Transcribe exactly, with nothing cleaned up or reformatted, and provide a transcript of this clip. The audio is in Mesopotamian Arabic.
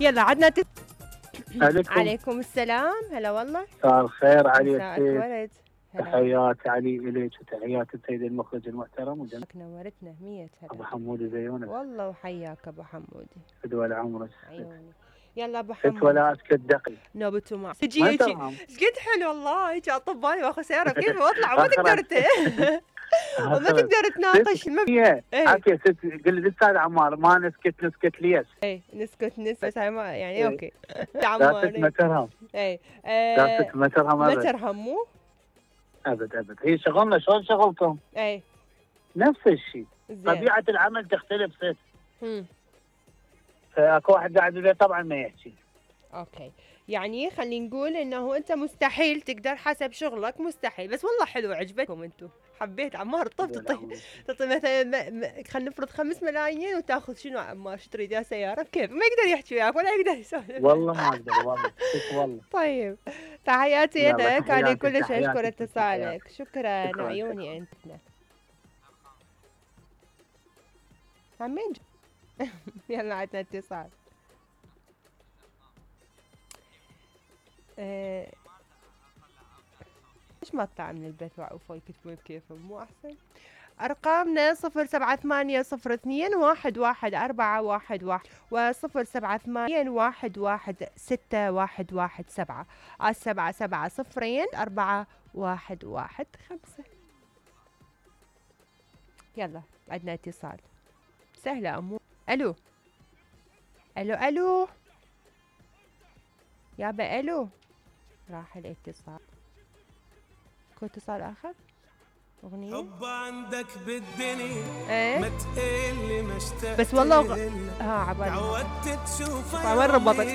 يلا عدنا تت... عليكم. عليكم السلام. هلا والله. مساء الخير علي مساءك السيد. ورد. تحياتي علي اليك وتحيات السيد المخرج المحترم وجنبك نورتنا مية هلا. ابو حمودي زيونك. والله وحياك ابو حمودي. فدوى عمرك. عيوني. يلا ابو حمودي. ست ولا اسكت دقي. نوبته مع تجي هيك ايش قد حلو والله هيك اطباني واخذ سياره كيف واطلع وما تقدر وما تقدر تناقش المبنيه. عافيه ست قل لي الاستاذ عمار ما نسكت نسكت ليش؟ اي نسكت نسكت بس هاي ما يعني اوكي. عمار ما ترهم. اي داست ما ترهم ابد. ما ترهم مو؟ ابد ابد هي شغلنا شلون شغلكم؟ اي نفس الشيء. طبيعه العمل تختلف ست. امم فاكو واحد قاعد يقول طبعا ما يحكي. اوكي يعني خلينا نقول انه انت مستحيل تقدر حسب شغلك مستحيل بس والله حلو عجبتكم انتم حبيت عمار طف تعطي تعطي مثلا خلينا نفرض خمس ملايين وتاخذ شنو عمار شو تريد يا سياره كيف ما يقدر يحكي وياك ولا يقدر يسولف والله ما اقدر والله والله. طيب تحياتي لك انا كلش اشكر اتصالك شكرا عيوني انت عمين يلا عندنا اتصال. ايه ليش ما اطلع من البيت واعوفوا يكتبون بكيفهم مو احسن؟ ارقامنا صفر سبعة ثمانية صفر اثنين واحد واحد أربعة واحد واحد وصفر سبعة ثمانية واحد واحد ستة واحد واحد سبعة على سبعة سبعة صفرين أربعة واحد واحد خمسة. يلا عندنا اتصال سهلة أمور. الو الو الو يابا الو راح الاتصال. كو اتصال اخر اغنية حب عندك بالدنيا ايه ما تقلي ما اشتقت بس والله ها عبالي تعودت تشوفها مرة ربطت